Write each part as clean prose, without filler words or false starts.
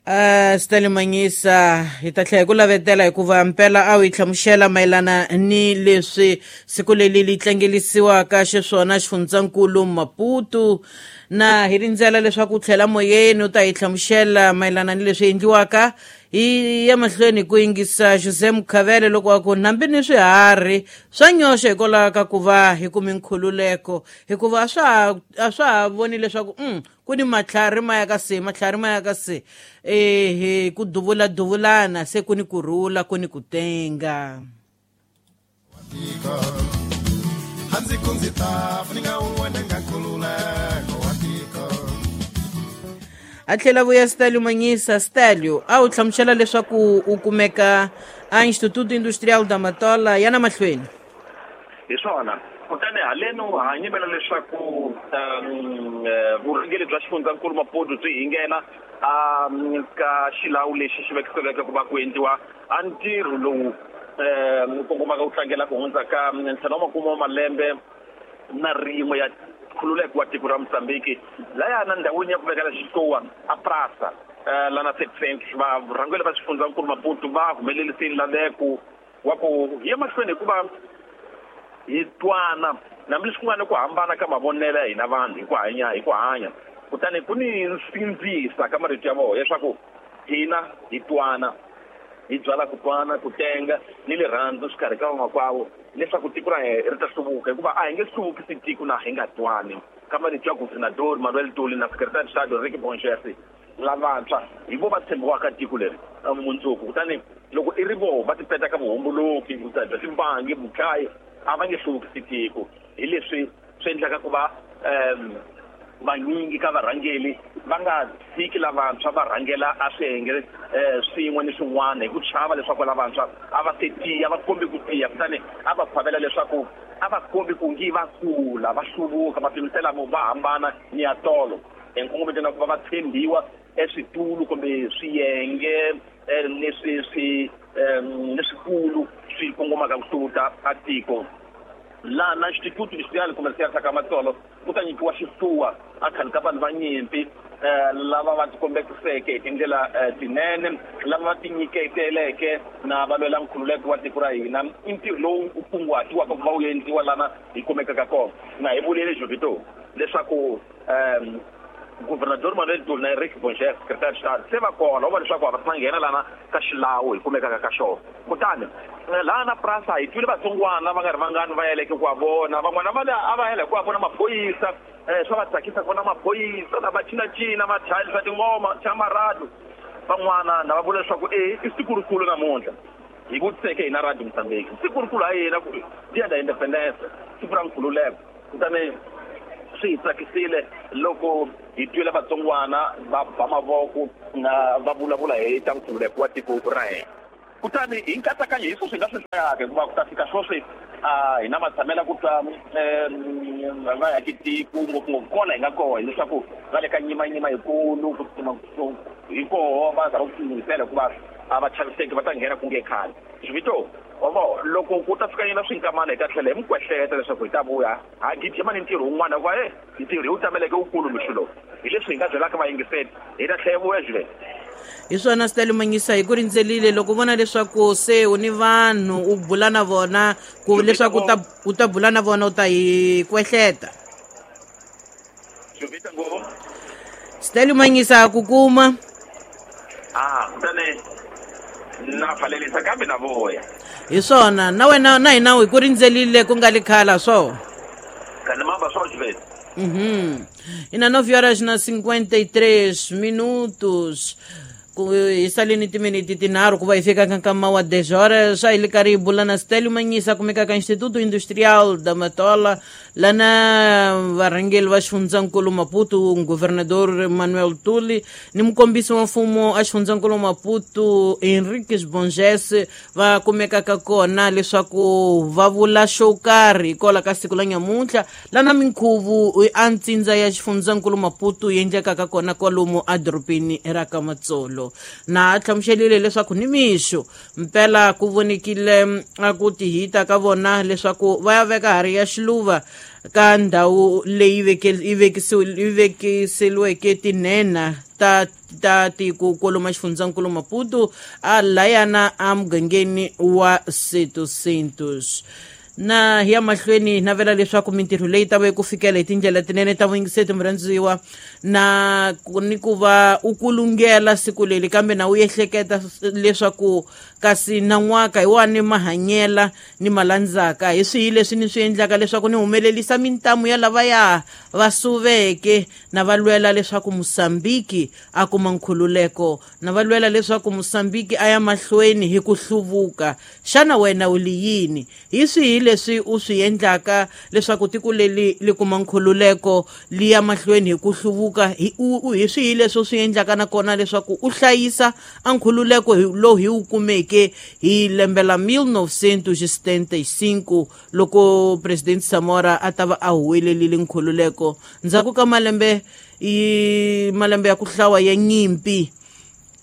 Stanley Manyisa hi ta tlhela hi ku lavetela hikuva mpela a wu yi hlamusela mayelana ni leswi siku leri li tlangelisiwaka xiswona xifundzankulu Maputo na hi rindzela leswaku u tlhela moyeni u ta hi hlamusela mayelana ni leswi endliwaka hi ya mahlweni ku yingisa Jose Mukhavele loko a ku nambi ni swiharhi swa nyoxa hikwalaho ka ku va hi kumi nkhululeko hikuva a swa ha voni leswaku ku ni matlhari ma ya ka se matlhari ma ya ka se ehe ku duvula duvulana se ku ni ku rhula ku ni ku tenga. Handzi ku ndzi ta funinga wena nga nkhululeko wa tiko. A tlhela vuya Stalio Manyisa. Stalio, a wu hlamusela leswaku u kumeka a Instituto Industrial da Matola ya na mahlweni. Hi swona, kutani haleno ha nyimela leswaku vurhangeri bya xifundzankulu Maputo byi hingena ka xilawu lexi xi vekisiweke ku va ku endliwa a ntirho lowu kongomaka ku tlangela ku hundza ka 51 wa malembe na rin'we ya nkhululeko wa tiko ra Mozambiki. Laya na ndhawini ya ku vekela xitluwa a Prasa lana 7 varhangeri va xifundzankulu Maputo va humelerisile laveko wa ku hi ya mahlweni hikuva hi twana hambileswi ku nga ni ku hambana ka mavonelo ya hina vanhu hi ku hanya hi ku hanya. Kutani ku ni nsindzisa ka marito ya vona leswaku hina hi twana, hi byala ku twana, ku tenga ni rirhandzu xikarhi ka vamakwavo leswaku tiko ra hina ri ta hluvuka, hikuva a hi nge hluvukisi tiko na hi nga twani. Ka marito ya Governador Manuel Tuli na Secretary Estado Ricky Bonchesi, lavantshwa hi vo va tshembiwaka tiko leri mundzuku. Kutani loko i ri voho va tipeta ka vuhomboloki bya timbangi vudlayi, a va nge hluvukisi tiko. Hi leswi swi endlaka ku va vanyingi ka varhangeli va nga tshiki lavantshwa va rhangela a swiyenge swin'we ni swin'wana hi ku chava leswaku lavantshwa a va se tiya, va kombi ku tiya. Kutani a va phavela leswaku a va kombi ku ngi va kula, va hluvuka, va pimisela va hambana ni ya tolo hi nkongometo na ku va va tshembiwa eswitulu kumbe swiyenge leswi swi leswikulu swi kongomaka ku hluvuka a tiko. Laha na Instituto Industrial Comercial sa Kamatsolo ku ta nyikiwa xihluwa a khale ka vanhu va nyimpi lava va tikombekiseke hi tindlela tinene, lava va tinyiketeleke na va lwela nkhululeko wa tiko ra hina. I ntirho lowu u kunguhatiwaka ku va wu endliwa lana hi kumekaka kona. Na hi vulile Jovito leswaku Governador Manuel Tuli na Eric Bonchef, Secretary Estado, se va kona va leswaku a va ta nghena lana ka xilawu hi kumekaka ka xona. Kutani laha na Prasa hi twile vatsongwana va nga ri vangani va yeleke ku va vona van'wana va a va yela hi ku va vona maphorisa. Swa va tsakisa ku vona maphorisa na va cinacina, va chayelisa tingoma cha marado. Van'wana na va vula leswaku e i siku rikulu namuntlha. Hi vutiseke hina Radio Mozambique siku rikulu ha yena ku Dia da Independence, siku ra nkhululeko. Kutani swi hi tsakisile loko hi twile vatsongwana va ba mavoko na va vulavula hi ta nkhululeko wa tiko ra hina. Kutani hi nkatsakanyo hi sweswi hi nga swi hlayaka, hikuva ku ta fika sweswi a hi na matshamela ku twa va tiko ngopfungopfu kona hi nga koho, hileswaku va le ka nyimanyima yikulu ku hi koho va zama ku tilunghisela hikuva a va chaviseki va ta nghena ku nge khale. Xivito ovo loko ku ta fika yena swinkamana hi ta tlhela hi mi kwehleta leswaku hi ta vuya ha gijima ni ntirho wun'wana, hikuva e ntirho hi wu tameleke wukulu mixo lowu. Hi leswi hi nga byelaka vayingiseli, hi ta tlhela hi vuya Juliet. Hi swona, Stanley Manyisa, hi ku rindzelile loko u vona leswaku se u ni vanhu u bula na vona ku leswaku u ta bula na vona u ta hi kwehleta. Jovita ngopfu. Stanley Manyisa, ku kuma. Ah, kutani na pfalelisa kambe na voya. Hi swona, na wena na hina hi ku rindzelile ku nga li khala swo. Kani mamba swo, Juliet. Ina 9 horas na 53 minutos. Hi saleni timiniti 3 ku va hi fika ka nkama wa 10 horas. A hi li karhi hi bula na Stelio Manyisa, kumeka ka Instituto Industrial da Matola, lana varhangeli va xifundzankulu Maputo, Governador Manuel Tuli ni mukombisi wa mfumo a xifundzankulu Maputo Henriques Bonges va kumekaka kona leswaku va vula xo karhi hikwalaho ka siku la nyamuntlha lana minkhuvu a ntsindza ya xifundzankulu Maputo yi endlekaka kona kwalomu edorobeni ra Kamatsolo. tolo. Na hlamuselile leswaku nimixo mpela ku vonikile a ku tihita ka vona leswaku va ya veka hari ya xiluva ka ndhawu leyi vekiseliweke tinhenha ta tiko kwalomu xifundzankulu Maputo a layana a mugangeni wa Seto Santos. Na hi ya mahlweni navela leswaku mintirho leyi ta va ku fikela hi tindlela tinene ta vuyingiseti murhandziwa na ni ku va u kulungela siku leri, kambe na u ehleketa leswaku kasi nan'waka hi wani mahanyela ni malandzaka hi swihi leswi ni swi endlaka leswaku ni humelelisa mintamu ya lavaya va suveke na va lwela leswaku Mosambiki a kuma nkhululeko, na va lwela leswaku Mosambiki a ya mahlweni hi ku hluvuka. Xana wena u li yini? Hi swihi leswi u swi endlaka leswaku tiko leri li kuma nkhululeko li ya mahlweni hi ku hluvuka? Hi swihi leswi u swi endlaka nakona leswaku u hlayisa a nkhululeko lowu hi wu kumeke hi lembe la 1975 loko President Samora a ta va a huwelelile nkhululeko ndzhaku ka malembe ya ku hlawa ya nyimpi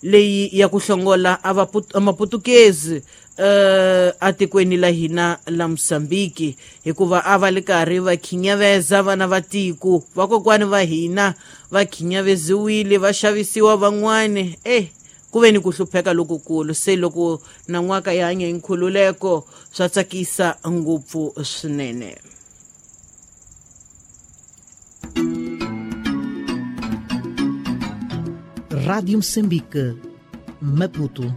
leyi ya ku hlongola a maputukezi atikweni la hina la Mosambiki, hikuva a va le karhi va khinyaveza vana va tiko, vakokwani va hina va khinyaveziwile va xavisiwa van'wani, ku ve ni ku hlupheka lokukulu. Se loko nan'waka ya hanya hi nkhululeko swa tsakisa ngopfu swinene. Rádio Moçambique, Maputo.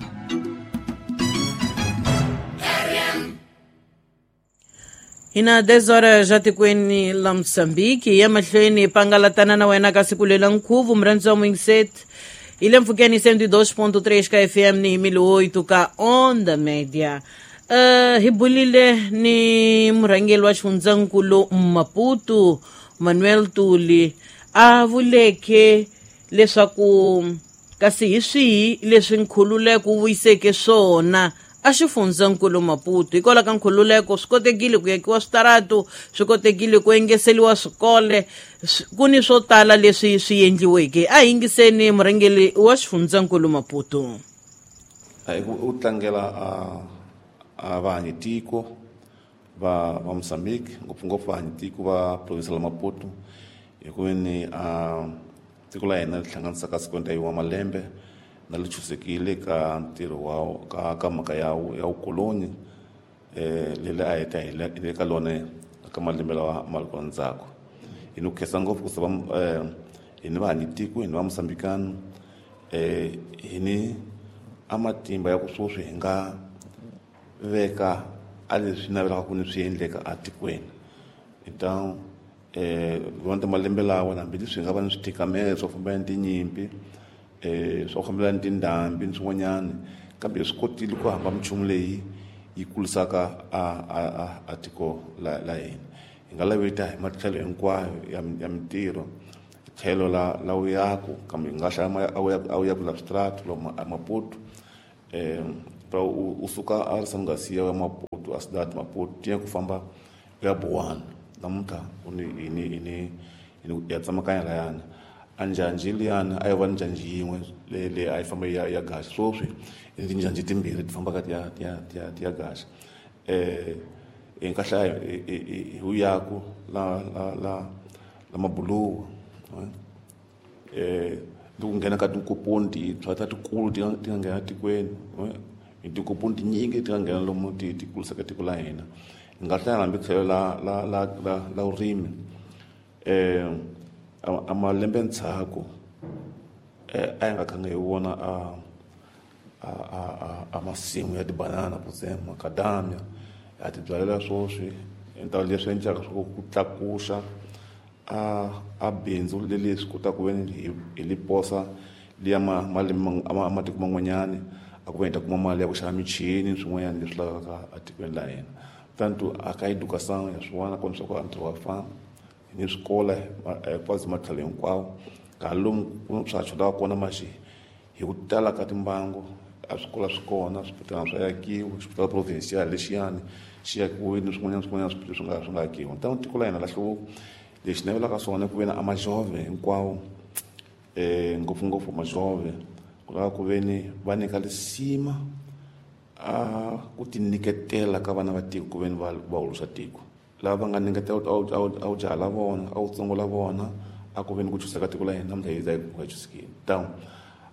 Hina 10 horas já tikweni la Mosambiki ya mahlweni pangalatana na wena ka siku lela nkhuvu murhandzi wa Mwingiseti ile mpfhukeni 102.3 ka FM ni 1008 ka Onda Media. Hi bulile ni murhangeri wa xifundzankulu Maputo Manuel Tuli a vuleke leswaku kasi hi swihi leswi nkhululeko wu vuyiseke swona a xifundzankulu Maputo. Hikwalaho ka nkhululeko swi kotekile ku yakiwa switaratu, swi kotekile ku engeseliwa swikole, ku ni swo tala leswi swi endliweke. A yingiseni murhangeri wa xifundzankulu Maputo. U tlangela a vahanyi tiko va Mozambique, ngopfungopfu vahanyi tiko va province la Maputo, hikuva ni a tiko la hina ri hlanganisaka 51 wa malembe na li chusekile ka ntirho wa ka mhaka ya vukoloni leri a hi ta hi le ka lona ka malembe lawa ma ri kona ndzhaku. Hi ni ku khensa ngopfu ku sava hi ni vahanyi tiko, hi ni va Mozambikano, hi ni a matimba ya ku sweswi hi nga veka a leswi navelaka ku ni swi endleka atikweni. Então vona malembe lawa hambileswi hi nga va ni swithikamelo swo fambelana ni tinyimpi, swo fambelana ni tindhambi ni swin'wanyana, kambe hi swi kotile ku hamba minchumu leyi yi kurisaka a tiko la hina. Hi nga laveta hi matlhelo hinkwayo ya mintirho, tlhelo la vuyaku, kambe hi nga hlaya a vuyaku la switaratu lomu a Maputo, u suka a Risamugasiya ya Maputo a Cidade Maputo tiya ku famba ya Buwana namuntlha ni ya tsemakanya layana a njhanji liyani a yi va ni njhanji yin'we leyi a yi famba ya gaxa, sweswi i tinjhanji timbirhi ti fambaka ti ya gaxa. Hi nga hlaya hi vuyaku la mabuluwa, ni ku nghena ka tinkoponi tintshwa ta tikulu ti nga nghena tikweni, tinkoponi tinyingi ti nga nghena lomu ti kurisaka tiko la hina. Hi nga hlaya hambi tlhelo la vurimi, a malembe ndzhaku a hi nga khange hi vona a masimu ya tibanana kutse macadamia ya ti byalela sweswi. Nta leswi endlaka swa ku tlakusa a bindzu leri swi kotaka ku veni hi li posa liya malembe a matiko man'wanyana a ku va hi ta kuma mali ya ku xava michini swin'wanyana leswi lavekaka etikweni la hina. Tanto a ka educação ya swin'wana kona swa ku a ntirho wa famba ni swikolo hinkwaswo matlhelo hinkwawo, ka lomu swa chodaka kona maxi hi ku tala ka timbangu a swikolo swi kona, swibedhlele swa yakiwa, xibedhlele provincial lexiyani xi yakiwile ni swin'wanyana swin'wanyana swi nga akiwa. Ntangu tiko la hina la hluvuka, lexi navelaka swona ku ve na amajove hinkwawo, ngopfungopfu majove ku Ku lava ku veni va nyika lisima a ku tinyiketela ka vana va tiko ku veni va hulusa tiko. Lava va nga nyiketela a wu jaha la vona, a wu tsongo la vona, a ku veni ku chusa ka tiko la hina namuntlha hi za hi ku chusikile. Tawu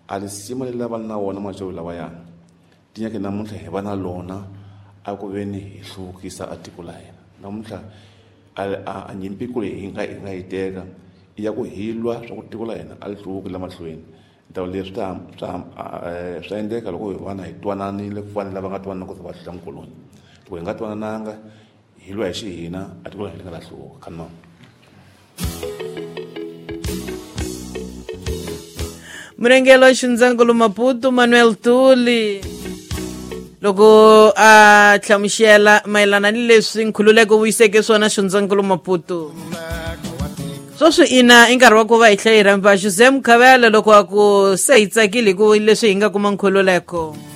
a lisima leri va na wona majovi lawayani ti nyake namuntlha hi va na lona a ku veni hi hluvukisa a tiko la hina. Namuntlha a nyimpi kulu hi nga yi teka i ya ku hi lwa swa ku tiko la hina a li hluvuki la mahlweni. Ntawu leswi swa endleka loko hi vana hi twananile ku fana lava nga twanana ku va hlula mukoloni. Loko hi nga twanananga hi lwa hi xihina a tiko la hina li nga la hluvuka. Khanma. Murhangeri wa xifundzankulu Maputo Manuel Tuli loko a hlamusela mayelana ni leswi nkhululeko wu yiseke swona xifundzankulu Maputo. Sweswi ina i nkarhi wa ku va hi tlhela hi rhamba Jose Mukhavela loko a ku se hi tsakile hi ku leswi hi nga kuma nkhululeko.